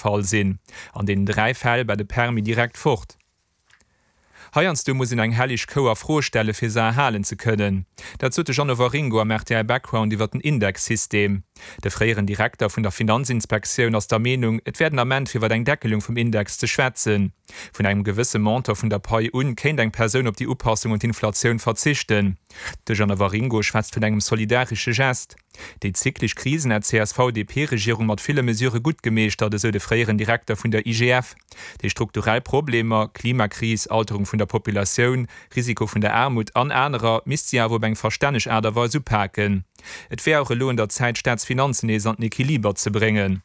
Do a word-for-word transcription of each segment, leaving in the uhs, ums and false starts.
Fall sinn. An deenen dräi Fäll war de Permis direkt fort. Heiansdo muss een eng helleg Kou a Fro stelle fir se erhalen ze kënnen. Dat sot de Jeannot Waringo am R T L Background iwwer den Indexsystem. De fréieren Direkter vun der Finanzinspektioun ass der Meenung, et wär den Ament fir iwwer eng Deckelung vum Index ze schwätzen. Vun engem gewësse Montant vun der Pai un kéint eng Persoun op déi Upassung un d'Inflatioun verzichten. De Jeannot Waringo schwätzt vun engem solidaresche Gest. Déi zyklesch Krisen hätt d'C S V D P-Regierung mat ville Mesurë gutt gemeeschtert, esou de fréieren Direkter vun der I G F. Déi strukturell Problemer, Klimakris, Alterung vun der Populatioun, Risiko vun der Aarmut an anerer, misst si awer op eng verstänneg Aart a Weis upaken. Et wär och elo un der Zäit, d'Staatsfinanzen nees an den Equiliber ze bréngen.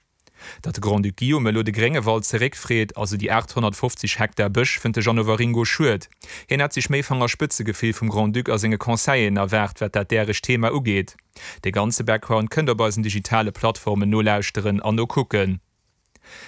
Datt de Grand-Duc Guillaume elo de Gréngewald zeréckfreet, also déi aathonnertfofzeg Hektar Bësch, fënnt de Jeannot Waringo schued. Hien hätt sech méi Fangerspëtzegefill vum Grand-Duc a senge Conseilleren erwaart, wat dat däregt Thema ugeet. De ganze Background kënnt der op eisen digitale Plattformen nolauschteren an nokucken.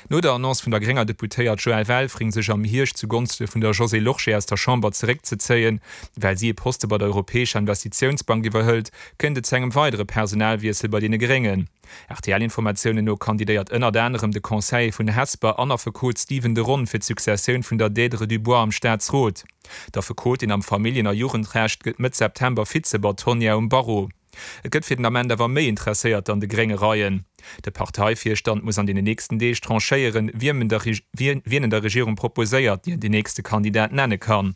No der Annonce vun der grénger Deputéiert Joëlle Welfring, sech am Hierscht zu Gonschte vun der Josée Lorsché aus der Chamber zeréckzezéien, well si e Poste bei der Europäescher Investitiounsbank iwwerhëlt, kënnt et zu engem weidere Personalwiessel bei deene Gréngen. R T L-Informatiounen no kandidéiert ënnert anerem de Conseiller vun Hesper an Affekot Stephen de Ron fir d'Successioun vun der Deirdre Dubois am Staatsrot. D'Affekotin am Familljen a Jugendrecht gëtt Mëtt September Vize-Bâtonnière um Barreau. Et gëtt fir den Ament awer méi Interesséierter an de grénge Reien. De Parteivirstand muss an den nächsten Deeg tranchéieren, wien en der wien en der Regierung proposéiert, déi den nächste Kandidat nenne kann.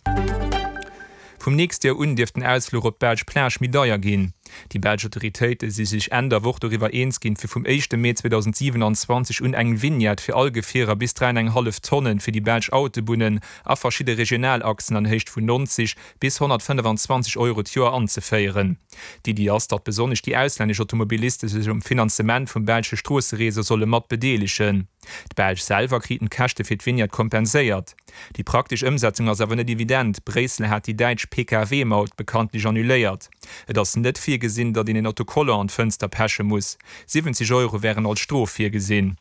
Vum nächste Joer un dierft den Ausfluch op d'belsch Plage méi deier ginn. Déi belsch Autoritéite si sech Enn der Woch doriwwer eens ginn, fir vum éischte Mee zweedausendsiwenanzwanzeg un eng Vignette fir all Gefierer bis dräi an eng hallef Tonnen fir déi belsch Autobunnen a verschidde Regionalachsen an Héicht vun neunzeg bis honnertfënnefanzwanzeg Euro d'Joer anzeféieren. D'Iddi ass, datt besonnesch déi auslännesch Automobiliste sech um Finanzement vum belsche Stroossereseau solle mat bedeelegen. D'Belsch selwer kriten d'Käschte fir d'Vignette kompenséiert. Déi praktesch Ëmsetzung ass awer net evident, Bréissel hat déi däitsch P K W-Maut bekanntlech annuléiert. Et ass net virgesinn, datt een en Autocollant an d'Fënster peche muss. Siwwenzeg Euro wären als Strof virgesinn.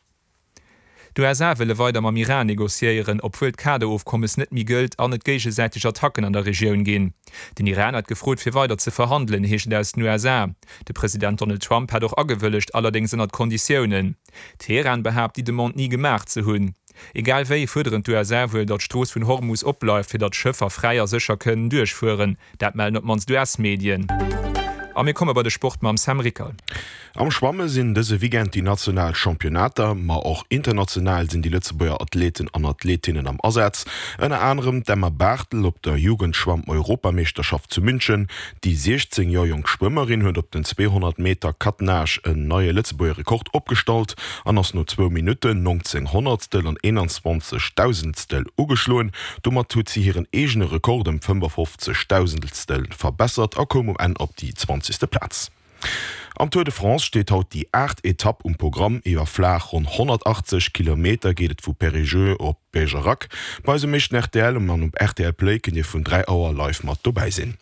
D'U S A wëlle weider mam Iran negociéieren, obwuel d'Kaderofkommes net méi gëllt an et géigesäiteg Attacken an der Regioun ginn. Den Iran hat gefrot fir weider ze verhandelen, heescht et aus den U S A. De President Donald Trump hat och agewëllegt, allerdéngs ënnert Konditiounen. Teheran behaapt, déi Demande ni gemaach ze hunn. Egal wéi fuerderen d'U S A wuel, datt d'Strooss vun Hormus opbleift, fir datt Schëffer fräi a sécher kënnen duerchfueren. Dat mellen op d'mannst U S-Medien. A mir komme bei de Sport mam Sam Rickel. Am Schwamme sinn dëse Weekend déi national Championnater, ma och international sinn déi Lëtzebuerger Athleten an Athletinnen am Asaz. Ënner anerem d'Emma Barthel op der Jugendschwamm-Europameeschterschaft zu München. Déi siechzéng Joer jonk Schwëmmerin huet op den zweehonnert Meter Quatre-Nages en neie Lëtzebuerger Rekord opgestallt an ass no zwou Minutten, nongzéng Honnertstel an eenanzwanzeg Dausendstel ugeschloen. Domat huet si hiren eegene Rekord ëm fënnefofzeg Dausendstel verbessert a koum um Enn op déi zwanzegste Plaz. Am Tour de France steet haut déi aacht Etapp um Programm. Iwwer flaach ronn honnertachtzeg Kilometer geet et vu Périgueux op Bergerac. Bei eisem éischten R T L an op R T L Play kënnt Dir vun dräi Auer live mat dobäi sinn.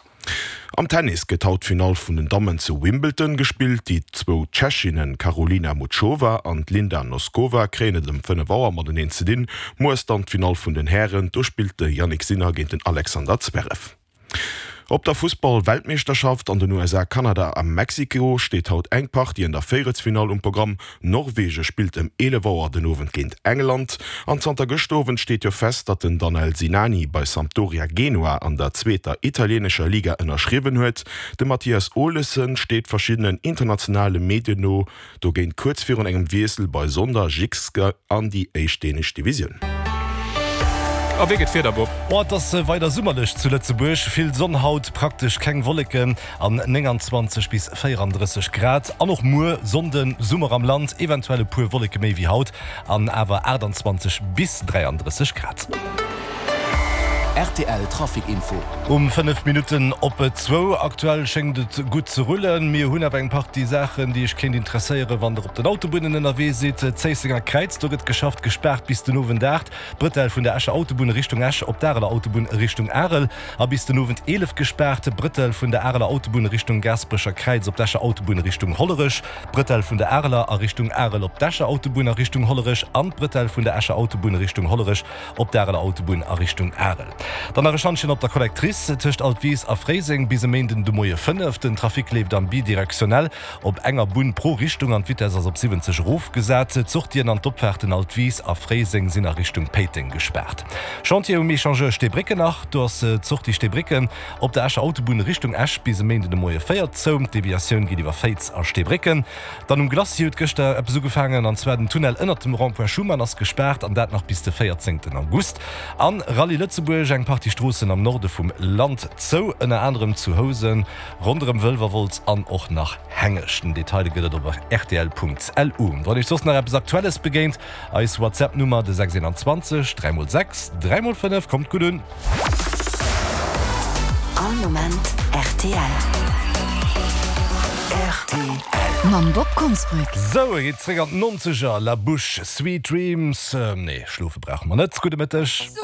Am Tennis gëtt haut d'Finall vun den Dammen zu Wimbledon gespillt. Déi zwou Tschechinnen Karolina Muchova an d'Linda Noskova kréien et ëm fënnef Auer mateneen ze dinn. Muer ass dann d'Finall vun den Hären, do spillt de Jannik Sinner géint den Alexander Zverev. Op der Fussball-Weltmeeschterschaft an den U S A, Kanada a Mexiko steet haut eng Partie an der Véierelsfinall um Programm. Norwege spillt ëm eelef Auer den Owend géint England. An zanter gëschter Owend steet jo fest, datt den Danel Sinani bei Sampdoria Genua an der zweeter italieenescher Liga ënnerschriwwen huet. De Mathias Olesen steet verschiddenen internationale Medien no dogéint kuerz virun engem Wiessel bei Sonder Jyske an déi éischt dänesch Divisioun. A wéi gëtt d'Wieder, Bob? Oh, et ass weider summerlech zu Lëtzebuerg. Vill Sonn haut, praktesch keng Wolleken an nénganzwanzeg bis véierandrësseg Grad. An och muer Sonnden Summer am Land, eventuell e puer Wolleke méi wéi haut an awer aachtanzwanzeg bis dräiandrësseg Grad. R T L Trafic Info. Um fënnef Minutten op zwou. Aktuell schéngt et gutt ze rullen. Mir hunn awer eng Partie Saachen, déi iech kéint interesséieren, wann der op den Autobunnen ënnerwee sidd. Zéissenger Kräiz, do gëtt geschafft, gespaart bis den Owend aacht. D'Brëtell vun der Escher Autobunn Richtung Esch op d'Areler Autobunn Richtung Arel a bis den Owend eelef gespaart. D'Brëtell vun der Areler Autobunn Richtung Gaasperecher Kräiz op d'Escher Autobunn Richtung Hollerech. D'Brëtell vun der Areler a Richtung Arel op d'Escher Autobunn a Richtung Hollerech an d'Brëtell vun der Escher Autobunn Richtung Hollerech op d'Areler Autobunn a Richtung Arel. Dann nach e Schantjen op der Collectrice tëscht Altwis a Fréiseng bis e Méinden de Moie fënnef. Den Trafic leeft am bidirektionell op enger Bunn pro Richtung an d'Vitess ass op siwwenzeg erofgesat. D'Sortien an d'Opfaarten Altwis a Fréiseng sinn a Richtung Péiteng gespaart. Chantier um Echangeur Steebrécken nach, do ass d'Sortie Steebrécken op der Escher Autobunn Richtung Esch bis e Méinden de Moie véier zou. D'Deviatioun geet iwwer Féiz a Steebrécken. Dann um Glacis huet gëschter eppes ugefaangen, an zwar den Tunnel ënnert dem Rond-point Schuman ass gespaart an dat nach bis de véierzéngten August. An Rallye Lëtzebuerg, eng Partie Stroossen am Norde vum Land zou, ënner anerem zu Housen, ronderëm Wëlwerwolz an och nach Hengescht. Den Detail gëtt et op rtl.lu. Wann iech soss nach eppes Aktuelles begéint, eis WhatsApp Nummer de sechs eenanzwanzeg dräi mol sechs dräi mol fënnef. Kommt gutt un! All Moment rtl. Rtl. Mam Bob Konsbrück. Sou, et geet zréck an d'Nonzeger, La Bouche, Sweet Dreams. Nee, schlofe brauche mer net. Gudde Mëtteg.